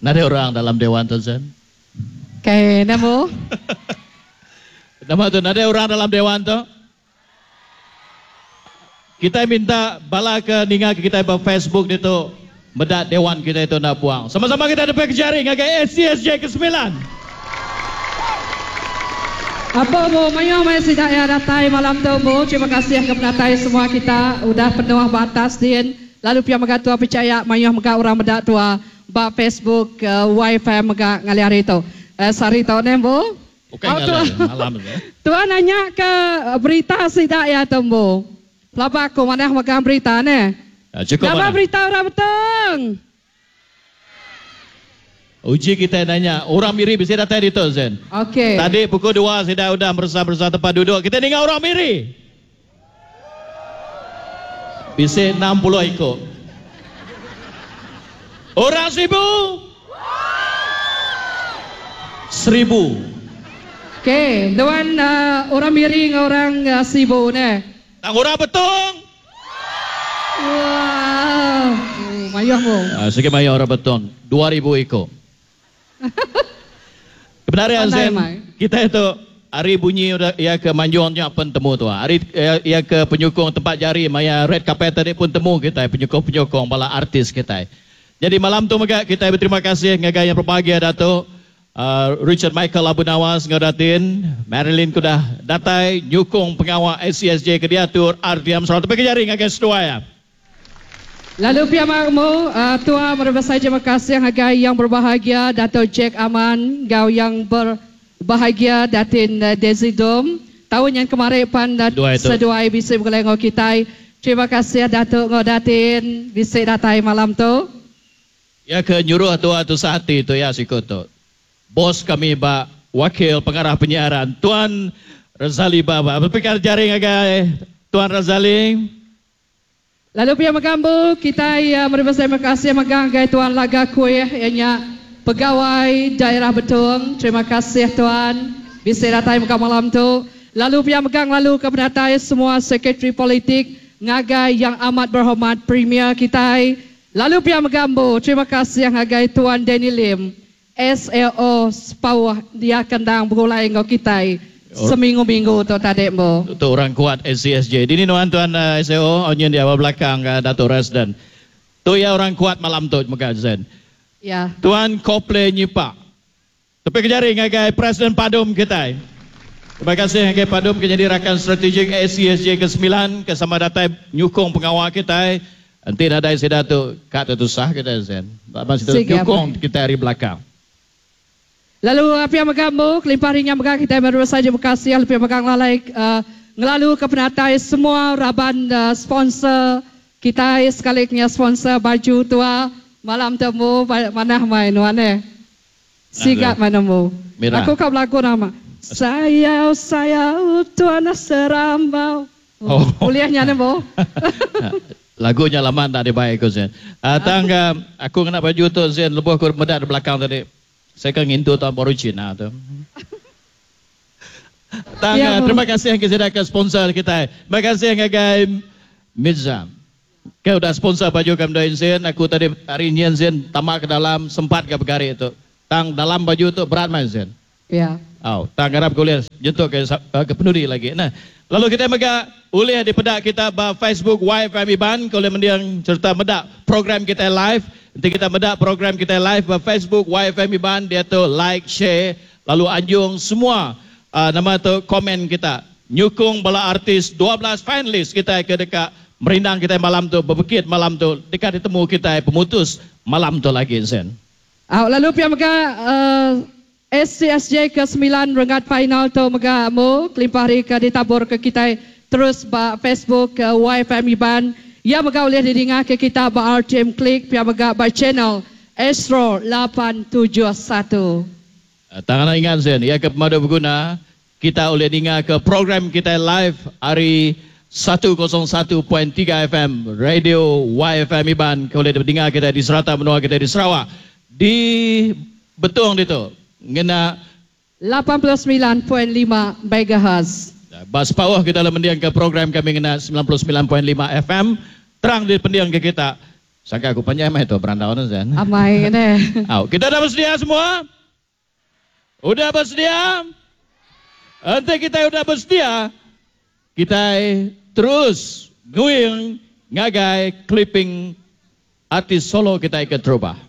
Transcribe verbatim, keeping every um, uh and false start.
Nada orang dalam Dewan tu, Zen. Okey, nemu. Nama tu, nada orang dalam Dewan tu. Kita minta bala ke ninga ke kita ba Facebook itu medak Dewan kita itu nak buang. Sama-sama kita ada jari ngagai S C S J ke sembilan. Apa bu, mayo mai sidak ya datai malam tu bu. Terima kasih ke penatai semua kita udah penuh batas din. Lalu pia mega tua percaya mayo mega orang medak tua ba Facebook uh, Wi-Fi mega ngali hari tu. Uh, sari tu ne bu. Okey ngali malam ni. Tua nanya ke berita sidak ya tu bu. Pelaba aku mana megang berita ne. Ya, cukup nama mana? Berita orang beteng. Uji kita nanya, orang Miri bisa datang di tu, Zen. Okey. Tadi pukul dua saya dah bersama-bersama tempat duduk. Kita dengar orang Miri. Bisa enam puluh ekor. Orang Sibu. Seribu. Okey, dewan uh, orang Miri dengan orang uh, Sibu ne. Tang orang Betong. Wow, oh, mayuh mu. Uh, sikit mayuh orang Betong, dua ribu ekor. Kebenaran Zen, kita itu hari bunyi ia ke manjungnya pun temu tu. Hari ia, ia ke penyokong tempat jari maya red carpet tadi pun temu kita penyokong-penyokong bala artis kita. Jadi malam tu mega kita berterima kasih ngagai yang berbahagia Datuk uh, Richard Michael Abu Nawas ngadatin Marilyn kudah datai nyukung pengawal S C S J ke diatur R T M Sarawak. Tapi jari ngagai sedua ya. Lalu pihak makmu, uh, tua merebasai terima kasih ngagai yang berbahagia Dato' Jack Aman, gau yang berbahagia Datin uh, Desi Dom. Tahun yang kemarin pan uh, seduai bisa bergulai ngau kitai. Terima kasih Dato' ngau Datin bisa datai malam tu. Ya ke nyuruh tua tu sehati tu ya sikut tu. Bos kami bak wakil pengarah penyiaran Tuan Razali Baba. Berpikir jaring agai Tuan Razali. Lalu pihak megambu kita ya menerima terima kasih megang gai Tuan Laga Kuih ianya pegawai daerah Betong. Terima kasih Tuan bisa datai muka malam tu. Lalu pihak megang lalu ke penatai semua sekretari politik ngagai yang amat berhormat Premier kita. Lalu pihak megambu terima kasih ngagai Tuan Danny Lim S L O Sepauh dia kendang bergulai ngau kita. Seminggu-minggu tu tadi bu. Itu orang kuat S C S J. Ini nuan tuan uh, S A O onyen di awal belakang uh, Dato' Resden. Tu ya orang kuat malam tu muka Zen. Ya. Tuan Kople Nyipak. Tapi kejari ngagai Presiden Padum kita. Terima kasih ngagai Padum ke jadi rakan strategik S C S J ke sembilan ke sama datai nyukung pengawal kita. Nanti nadai seda tu kat tu sah kita Zen. Masih tu nyukung kita dari belakang. Lalu pihak megambu, kelimpah ringan megang kita baru saja berkasih, pihak megang lalai uh, ngelalu ke penatai semua raban uh, sponsor kita sekali punya sponsor baju tua malam temu mana main wane. Sigap mana mu. Aku kau berlaku nama. Sayau sayau tuan serambau. Oh. Kuliahnya nemu. Lagunya lama tak dibaik aku Zen. Uh, tangga aku kena baju tu Zen lebuh aku medak di belakang tadi. Saya kan ngintu tahun baru Cina tu. Tang, ya, terima kasih yang kita ke sponsor kita. Terima kasih yang ngagai Mizam. Kau dah sponsor baju kami dah Zen. Aku tadi hari ni Zen tamak ke dalam sempat ke bergari itu. Tang dalam baju tu berat main Zen. Ya. Oh, tang harap kau lihat jentuk ke, ke penuri lagi. Nah, lalu kita mega ulih di pedak kita ba Facebook Y F M Iban kau boleh mendiang serta medak program kita live. Nanti kita medak program kita live ba Facebook Y F M Iban dia tu like, share, lalu anjung semua uh, nama tu komen kita. Nyukung bala artis dua belas finalis kita ke dekat merindang kita malam tu, berbekit malam tu, dekat ditemu kita pemutus malam tu lagi Zen. Uh, lalu pihak mega uh, S C S J ke sembilan renggat final tu mega mu kelimpah hari ke ditabur ke kita terus ba Facebook ke Y F M Iban. Ya mega boleh didengar ke kita ba R T M Klik pihak mega ba channel Astro lapan tujuh satu. Tangan ingat Zen, ya ke pemadu berguna kita boleh dengar ke program kita live hari satu kosong satu titik tiga F M Radio Y F M Iban. Kau boleh dengar kita di serata benua kita di Sarawak di Betong itu ngena lapan puluh sembilan titik lima megahertz. Bas pawah kita dalam mendiang ke program kami ngena sembilan puluh sembilan titik lima F M terang di pendiang ke kita. Sangka aku panjai mai tu berandau tu Zen. Amai ne. Au, kita dah bersedia semua? Udah bersedia? Enti kita udah bersedia, kita terus going ngagai clipping artis solo kita ke terubah.